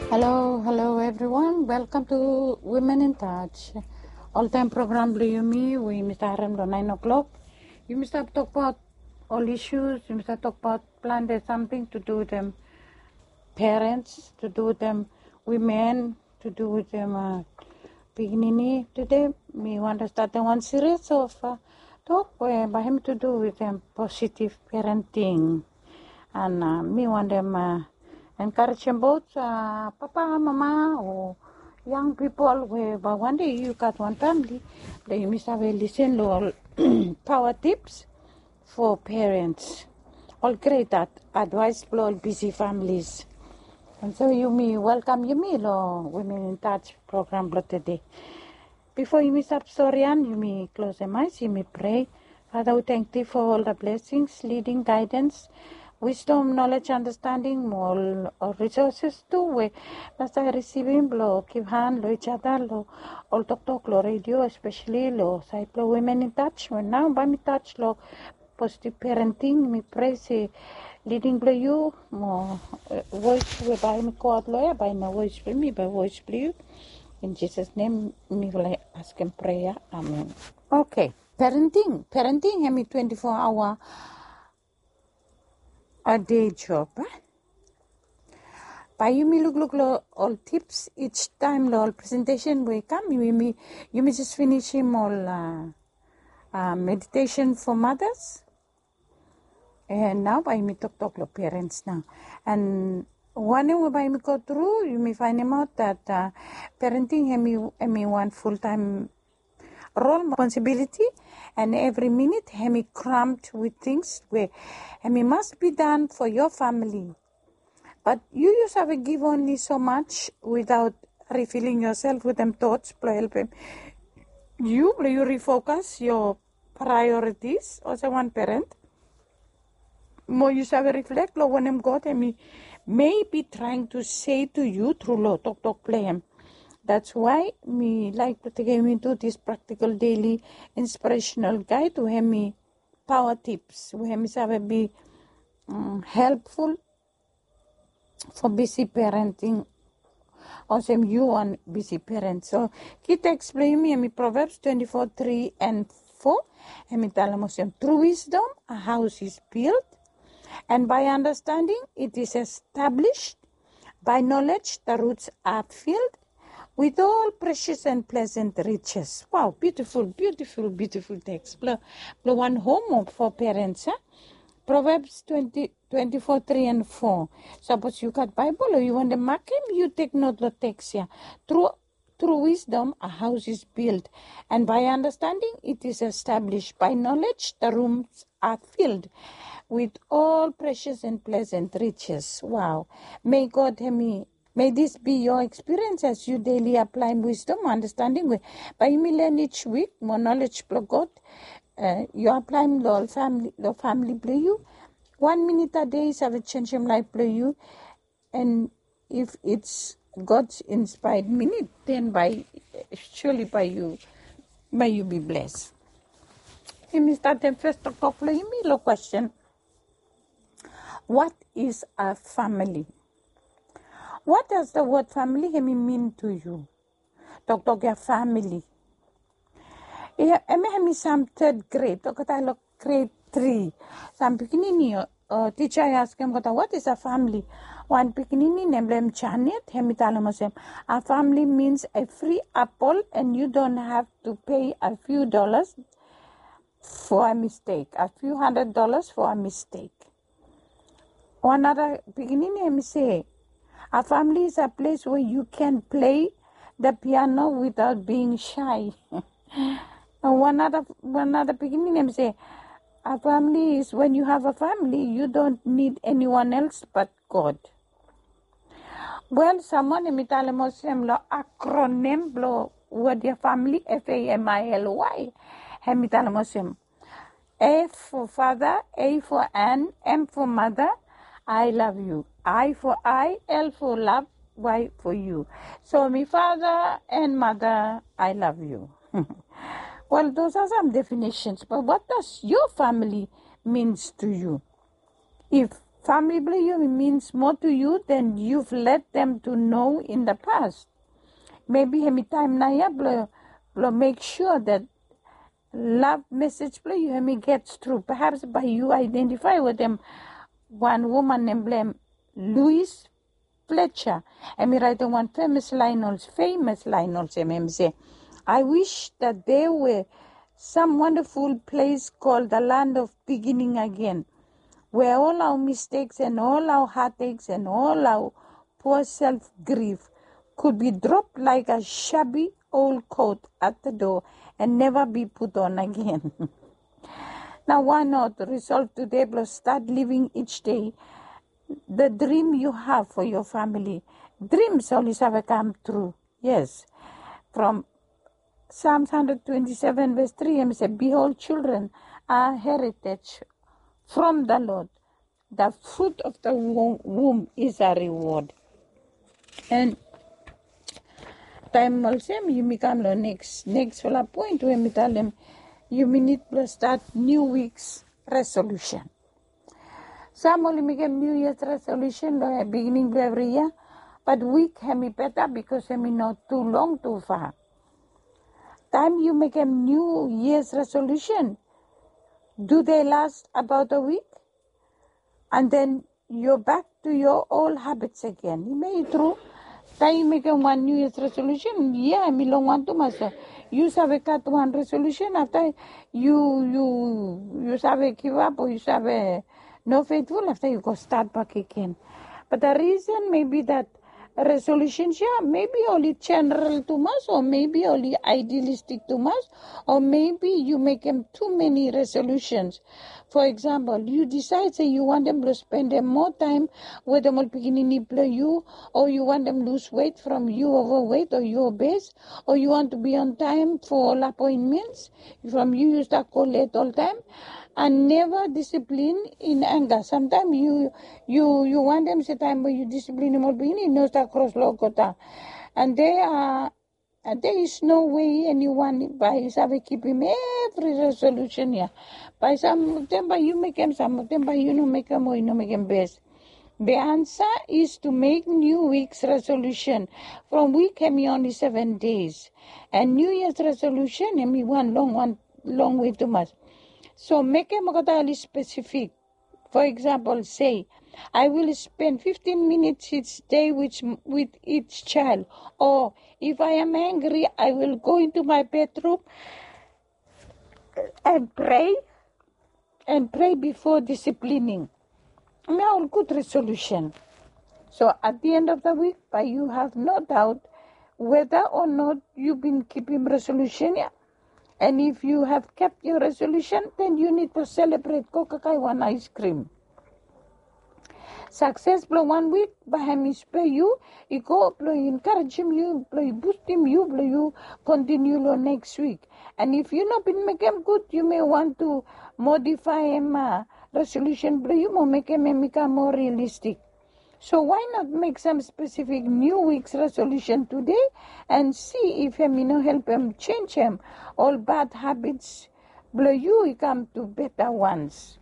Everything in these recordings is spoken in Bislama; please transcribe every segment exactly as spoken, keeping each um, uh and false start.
Hello, hello everyone. Welcome to Women in Touch. Oltaem program blong yumi we yumi stap harem long naen o'clock. Yumi stap tokbaot ol issues, yumi stap tokbaot plante samting to do wetem parents, to do wetem women, to do wetem pikinini. Tede mi wantem statem wan series of tok we bae hem to do wetem positive parenting. And mi wantem enkarejem both papa, mama o yang pipol we bae wan dei yu gat wan famili blong yumi save lisin long ol paoa tips for parents, ol gret advaes blong ol bisi familis. And so yumi welkam yumi long Women in Touch program blong tede. Bifo yumi stap storian, yumi klosem aes, yumi prea. Father, we tangkiu for ol the blessings, leading, guidance, wisdom, knowledge, understanding, mo ol resources tu we masta risivim blong givhan long each other long ol toktok long radio, especially long saed blong Women in Touch. We nao bae mi touch long positive parenting, mi prea se leading blong yu mo voes we bae mi goaot long ya bae i no voes blong mi, bae voes blong yu. In Jisas nem mifala askem prea. Amen. Okay. Parenting, parenting hemi twenty-four hour a day job. Bae yumi lukluk long ol tips each taem long ol presentation we i kam. Yumi jes finisim ol meditation for mothers. And nao bae yumi toktok long parents nao. And wanem we bae yumi go tru, yumi faenemaot that parenting hemi wan fultaem rol, responsibility, and evri minit hemi crammed with things we hemi must be done for your family. But yu yu save give only so much without refilling yourself wetem thoughts blong helpem yu blong yu refocus your priorities olsem wan parent. Mo yu save reflect long wanem God hemi maybe trying to say to you through long toktok blong hem. That's why mi laik blong tekem into this practical daily inspirational guide we hemi power tips we hemi save be helpful for busy parenting. Olsem yu wan busy parent. So ki teks blong yumi hemi Proverbs twenty-four three and four. Hemi talem olsem, through wisdom a house is built, and by understanding it is established, by knowledge the roots are filled, with all precious and pleasant riches. Wow, beautiful, beautiful, beautiful teks blong wan hom for parents. Proverbs twenty twenty-four three and four. Sapos yu gat Baebol o yu wantem makem, yu tek not long teks ya. Through wisdom a house is built, and by understanding it is established, by knowledge the rooms are filled with all precious and pleasant riches. Wow. May God hemi May this be your experience as you daily apply wisdom, understanding we bae yumi learn each week, mo knowledge blong God yu apply long famili blong yu. Wan minit a dei i save jenisim laef blong yu. And if it's God's inspired minit, then bae surely bae yu bae yu be blessed. Yumi statem fes toktok blong yumi long question. What is a family? What does the word family hemi mean to you? Toktok ya family. Hemi hemi sam third grade, olgeta long grade three. Sam pikinini o tija i askem olgeta, what is a family? Wan pikinini nem blong hem Janet, hemi talem olsem, a family means a free apple and you don't have to pay a few dollars for a mistake, a few hundred dollars for a mistake. Wan nara pikinini hemi se, a family is a place where you can play the piano without being shy. Wan nara pikinini hemi se, a family is when you have a family you don't need anyone else but God. Wel, sam wan hemi talem olsem long acronym blong wod ya family, F A M I L Y, hemi talem olsem, F for father, A for Ann, M for mother, I love you. I for I, L for love, Y for you. So mi father and mother, I love you. Well, those are some definitions, but what does your family means to you? If Famili blong yu i means more to you than you've let them to know in the past. Maybe hemi taem naoia blong blong make sure that love message blong yu hemi gets through. Perhaps bae yu identify wetem wan woman nem blong hem Louise Fletcher. Hemi raetem wan famous laen olsem, famous laen olsem, hemi se, I wish that there were some wonderful place called the land of beginning again, where all our mistakes and all our heartaches and all our poor self grief could be dropped like a shabby old coat at the door and never be put on again. Now, why not resolve today blong start living each day the dream you have for your family? Dreams oli save kam tru. Yes. From Psalms hundred twenty-seven verse three, hemi se, behold, children are heritage from the Lord. The fruit of the wo- womb is a reward. And taem olsem, yumi kam long next, next fala point we mi talem, yumi nid blong start new week's resolution. Sam oli mekem New Year's resolution long beginning blong evri yia, but wik hemi beta bikos hemi no tu long tu fa. Taem yu mekem New Year's resolution, do they last about a week? And then you're back to your old habits again. Hemi tru, taem yu mekem wan New Year's resolution, yia hemi longwan tumas. Yu save gat wan resolution, afta yu yu yu save givap o yu save no faithful, afta yu go stat bak agen. But the reason maybe that resolutions ya maybe oli general tumas o maybe oli idealistic tumas o maybe yu mekem too many resolutions. For example, yu decide se yu wantem blong spendem moa taem wetem ol pikinini blong yu, o yu wantem lose weight from yu overweight o yu obese, o yu want to be on time for ol appointments from yu yu stap go late oltaem, and never discipline in anger. Samtaem yu yu yu wantem se taem we yu disiplinim ol pikinini i no stap kros long olgeta. And they are And there is no way anyone bae i save kipim evri resolution ya. Bae sam of them bae yu mekem, sam of them bae yu no mekem o yu no mekem bes. The answer is to make new week's resolution. From week hemi only seven days. And New Year's resolution hemi wan long wan long wei tumas. So mekem olgeta oli specific. For example, say, I will spend fifteen minutes each day with, with each child. Or if I am angry, I will go into my bedroom and pray and pray before disciplining. Hemia ol gud resolution. So at the end of the week, bae yu have no doubt whether or not yu bin kipim resolution ya. And if you have kept your resolution, then you need to celebrate, go kakae wan ice cream. Success blong wan wik bae hemi spur yu i go blong encouragem yu, blong i boostim yu blong yu continue long next week. And if yu no bin mekem gud, yu may want to modify hemia resolution blong yu mo mekem hem i kam more realistic. So why not make some specific new week's resolution today and see if hemi no helpem changem ol bad habits blong yu i kam to better ones.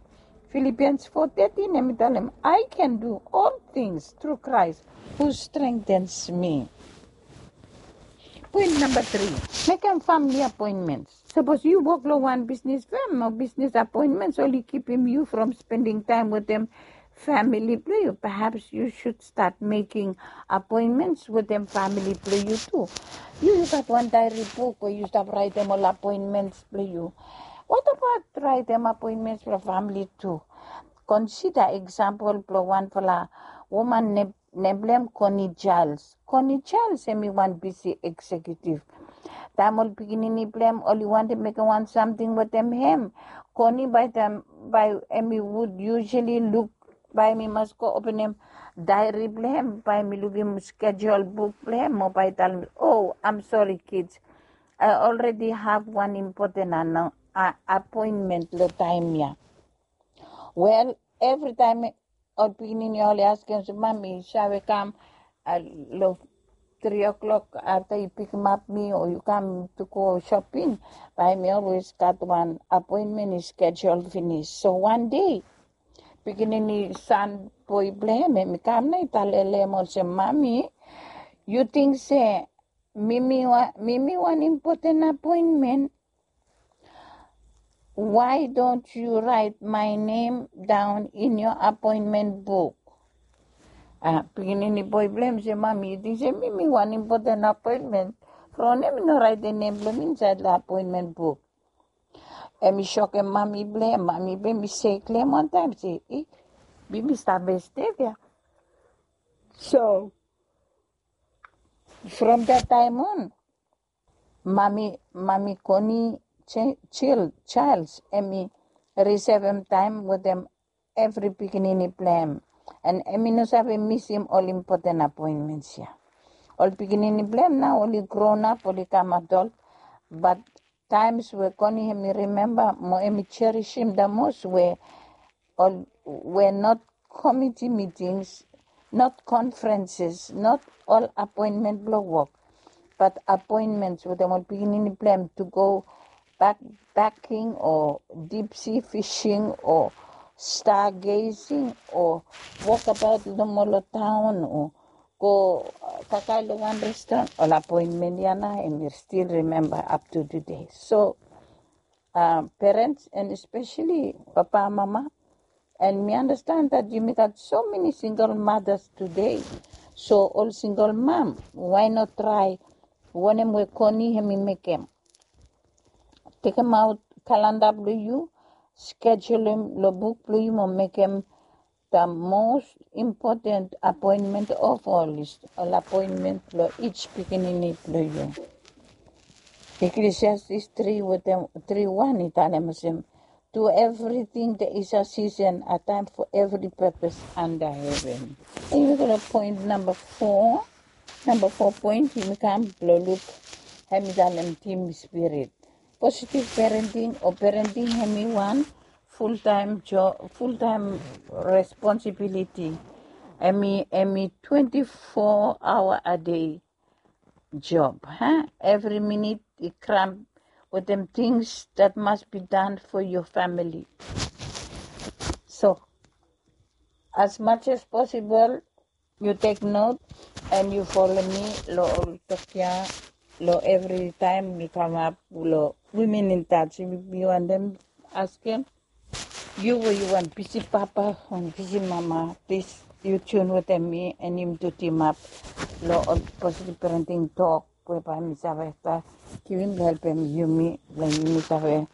Philippians four thirteen hemi talem, I can do all things through Christ who strengthens me. Point number three, mekem family appointments. Sapos yu wok long wan bisnis fam o bisnis appointments oli kipim yu from spending taem wetem famili blong yu, perhaps you should start making appointments wetem famili blong yu tu. Yu yu gat wan diary book we yu stap raetem ol appointments blong yu. What about raetem appointments blong famili tu? Consider example blong wanfala woman nem blong hem Connie Charles. Connie Charles hemi wan bisi executive. Taem ol pikinini blong hem oli wantem mekem wan samting wetem hem, Connie bae taem bae hemi would usually luk, bae hemi mas go openem diary blong hem, bae hemi lukim schedule book blong hem mo bae i talem, oh, I'm sorry kids, I already have one important appointment long taem ya. Wel, evritaem ol pikinini oli askem se, mami, yu save kam long three o'clock afta yu pikimap mi o yu kam to go shopping? Bae hemi always gat wan appointment i schedule finis. So wan dei pikinini san boe blong hem, hem i kam nao i talele hem olsem, "Mami, yu ting se mi mi wan impoten apoenmen? Why don't you write my name down in your appointment book?" Pikinini boe blong hem i se, "Mami, yu ting se mi mi wan impoten apoenmen? From we mi no raetem nem blong mi insaed long apoenmen buk?" Hem i sokem mami blong hem. Mami blong hem i se klem wantaem se, "I, baby stap stap ya." So from that time on, mami, mami Connie Childs, hem i risevem taem wetem evri pikinini blong hem. And hem i no save misim ol impoten apoenmens ya. Ol pikinini blong hem nao oli gronap, oli kam adol. Bat taems we Connie hem i rimemba mo hem i jerisim the most we ol we not committee meetings, not conferences, not ol apoenmen blong wok, bat apoenmens wetem ol pikinini blong hem to go backpacking o deep sea fishing o stargazing o wokabaot nomo long taon o go kakae long wan restoran. Ol apoenmen ya nao hem i stil rimemba up to today. So parents and especially papa, mama, and mi understand that yumi gat so many single mothers today. So ol single mom, why not try wanem we Connie hem i mekem? Tekemaot kalenda blong yu, schedule hem long buk blong yu mo mekem the most important appointment of all is ol apoenmen blong each pikinini blong yu. Ecclesiastes tri wetem tri wan i talem olsem, "To everything there is a season, a time for every purpose under heaven." Yumi go long point namba fo. Namba fo point yumi kam blong luk, hem i talem team spirit. Positive parenting o parenting hem i wan full time job, full time responsibility. Hem i, hem i twenty four hour a day job. Every minute i cram wetem things that must be done for your family. So as much as possible, yu tek not and yu folem mi long ol tok ya, long evri taem mi kamap long Women in Touch. Mi wantem askem yu we yu wan bisi papa, wan bisi mama, plis yu tune wetem mi and yumi tu timap long ol positive parenting tok we bae mi save givim blong helpem yumi blong yumi save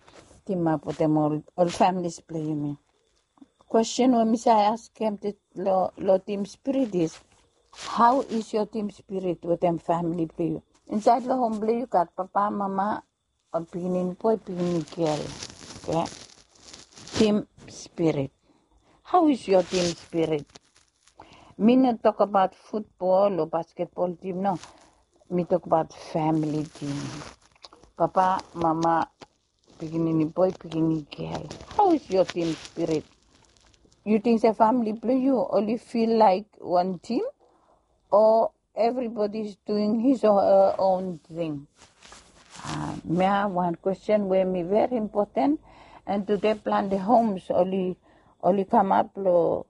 timap wetem ol families blong yumi. Kwesten we mi save askem long team spirit is, how is your team spirit wetem famili blong yu? Insaed long hom blong yu gat papa, mama, ol pikinini boe, pikinini gel. Oke. Team spirit. How is your team spirit? Mi no tokbaot futbol o basketbol tim, no. Mi tokbaot famili tim. Papa, mama, pikinini boe, pikinini gel. How is your team spirit? Yu ting se famili blong yu oli fil laek wan tim o everybody is doing his or her own thing? Mi have wan kwesten we mi veri impoten, and tude plante homes oli, oli kamap long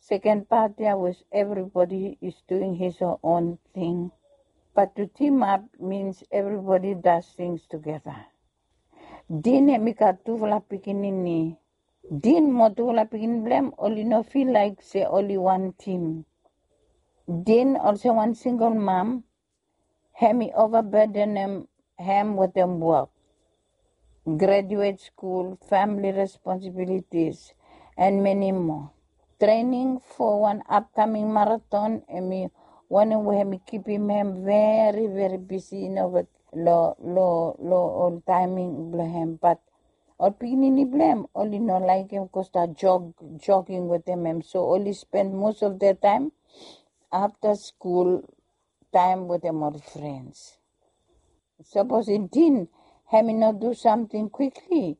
seken pat ya was everybody is doing his or own thing. But to team up means everybody does things together. Din hem i gat tufala pikinini. Din mo tufala pikinini blong hem oli no fil laek se oli wan tim. Din olsem wan singel mam, hem i ovabadenem hem wetem wok, graduet skul, famili responsibilitis, and many more. Trening fo wan apkaming maraton hem i wanem we hem i kipim hem veri, veri bisi, yu no, long, long, long ol taeming blong hem. Bat ol pikinini blong hem oli no laekem go stap jog, jogging wetem hem. So oli spend most of their time after school time wetem ol frens. Sapos i din, hem i no du samting kwikli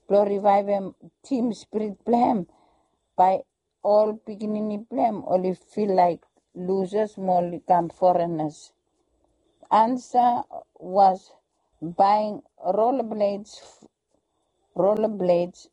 blong rivaevem tim spirit blong hem, bae ol pikinini blong hem oli fil laek losers mo oli kam forenas. Ansa was buying rollerblades, rollerblades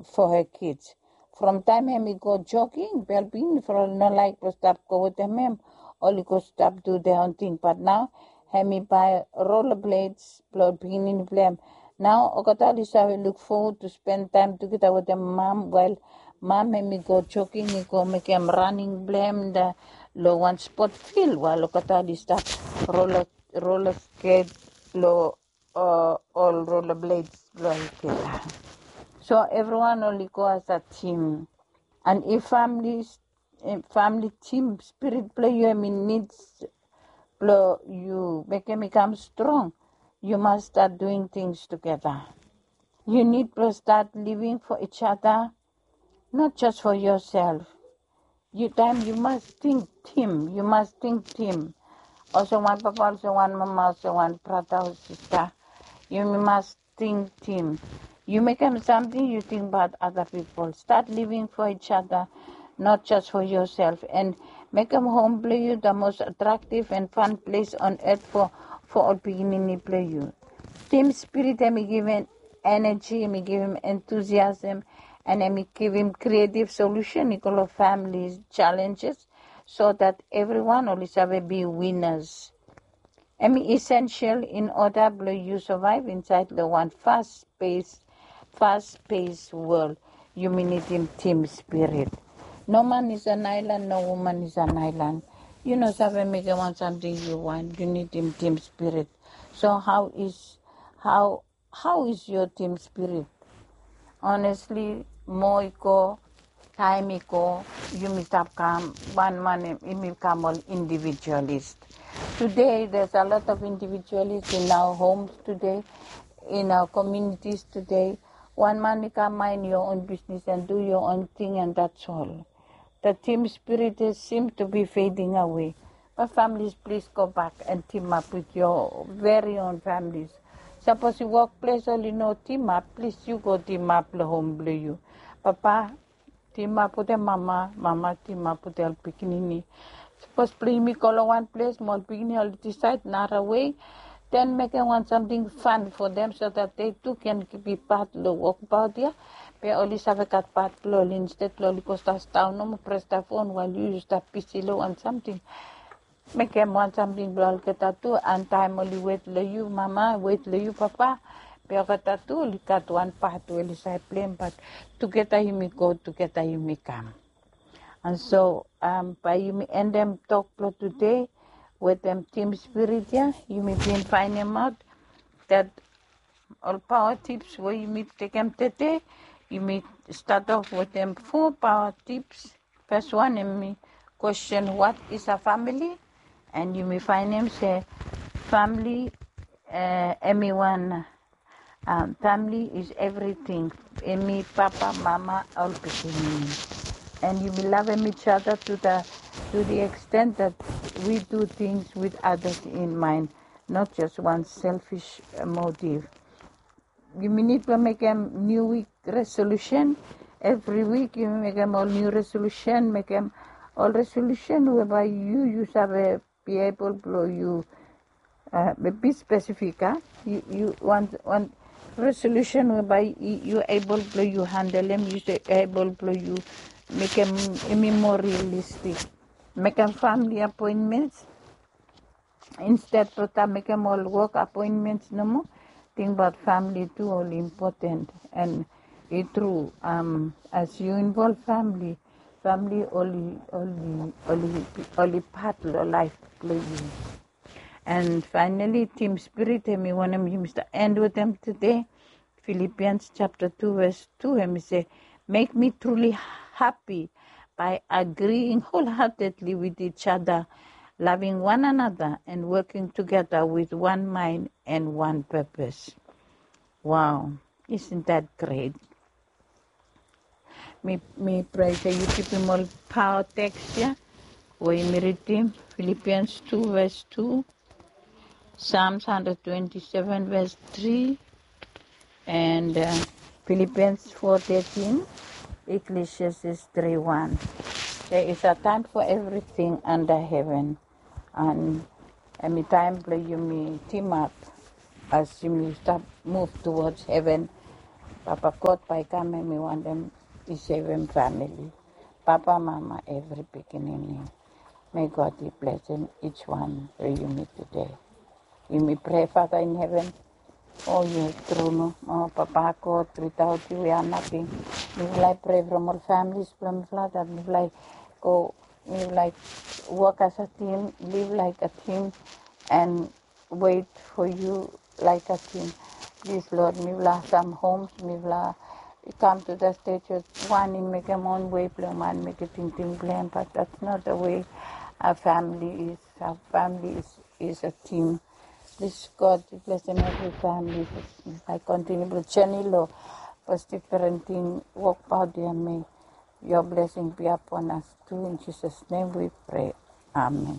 for her kids. from taem hemi go jogging, bel pikinini from oli no laek blong stap go wetem hem, oli go stap du their own thing. But nao hemi bae rollerblades blong ol pikinini blong hem. Nao olgeta oli save look forward to spend time together wetem mam, while mam hemi go jogging, i go mekem running blong hem long wan sport field, while olgeta oli stap roller, roller skate long ol rollerblades blong olgeta. So evriwan oli go as a team. And if family, family team spirit blong yu hemi nid blong yu mekem i kam strong, yu mas start doing things together. Yu nid blong start living for each other, not just for yourself. Yu taem yu mas ting tim, yu mas ting tim. Olsem wan papa, olsem wan mama, olsem wan brata o sista, yumi mas ting tim. Yu mekem samting, yu tingbaot other people. Start living for each other, not just for yourself. And mekem hom blong yu the most attractive and fun place on earth for, for ol pikinini blong yu. Team spirit hemi givim energy, hemi givim enthusiasm, and hemi givim creative solution i go long family challenges, so that evriwan oli save be winners. Hemi essential in order blong yu survive insaed long wan fast pace, fast pace world. Yumi nidim team spirit. No man is an island, no woman is an island. Yu no save mekem wan samting yu wan, yu nidim team spirit. So how is, how, how is your team spirit? Honestly, moa i go, taem i go, yumi stap kam wan man, yumi kam ol individualist. Today there's a lot of individualists in our homes today, in our communities today. Wan man i kam mind your own business and do your own thing, and that's all. The team spirit is seem to be fading away. But families, please go back and team up with your very own families. Sapos yu wokples oli no team up, please yu go team up long hom blong yu. Papa, team up wetem mama, mama team up wetem ol pikinini. Sapos blong yumi go long wan ples mo ol pikinini oli disaed nara wei, then mekem wan samting fun for them so that they too can be part long wokbaot ia. Be oli save gat part blong oli, instead blong oli go stap sidaon nomo pres the phone while yu, yu stap bisi long wan samting. Mekem wan samting blong olgeta tu, and taem oli wet long yu mama, wet long yu papa, be olgeta tu oli gat wan pat we oli save pleim, but tugeta yumi go, tugeta yumi kam. And so, um, bae yumi endem tok blong tede wetem team spirit ia. Yumi bin faenemaot that ol paoa tips we yumi tekem tede, yumi stat of wetem fo paoa tips. Fes wan hemi question, what is a family? And yumi faenem se family, uh, hemi wan, um, family is everything. Hemi papa, mama, ol pikinini. And yumi lavem each other to the, to the extent that we do things with others in mind, not just one selfish, uh, motive. Yumi nid blong mekem niu wik resolution. Evri wik yumi mekem ol niu resolution, mekem ol resolution we bae yu, yu save be able blong yu, uh, be spesifik, a? Yu, yu wan, wan resolution we bae yu, yu able blong yu handelem, yu save able blong yu mekem hemi moa realistik. Mekem family appointments, instead blong stap mekem ol wok appointments nomo, tingbaot family tu oli important. And i tru, um, as yu involve family, family oli, oli, oli, oli pat long laef blong yu. And finally, team spirit, hemi wanem yumi stap end wetem tede. Philippians chapter two verse two, hemi se, make me truly happy by agreeing wholeheartedly with each other, loving one another, and working together with one mind and one purpose. Wow, isn't that great? Mi, mi prea se yu kipim ol paoa teks ia we yumi ridim, Philippians two verse two, Psalms hundred twenty-seven verse three, and, uh, Philippians four thirteen, Ecclesiastes three one. There is a time for everything under heaven. And hemi taem blong yumi team up as yumi stap move towards heaven. Papa God bae i kam, hemi wantem i sevem famili, papa, mama, evri pikinini. May God i blesem each one blong yumi tude. Yumi prea, Father in heaven, o yu tru no, o Papa God, without you we are nothing. Mifala i prea from ol families blong mifala, that mifala i go, mifala i work as a team, live like a team, and wait for you like a team. Please, Lord, mifala some homes, mifala come to the stage where wan i mekem own way blong wan, mekem tingting blong hem, but that's not the way our family is. Our family is, is a team. Please, God, blesem evri famili. Mifala i kontiniu blong jeni long positive parenting, wokbaot ya, may your blessing be upon us too. In Jesus' name we pray. Amen.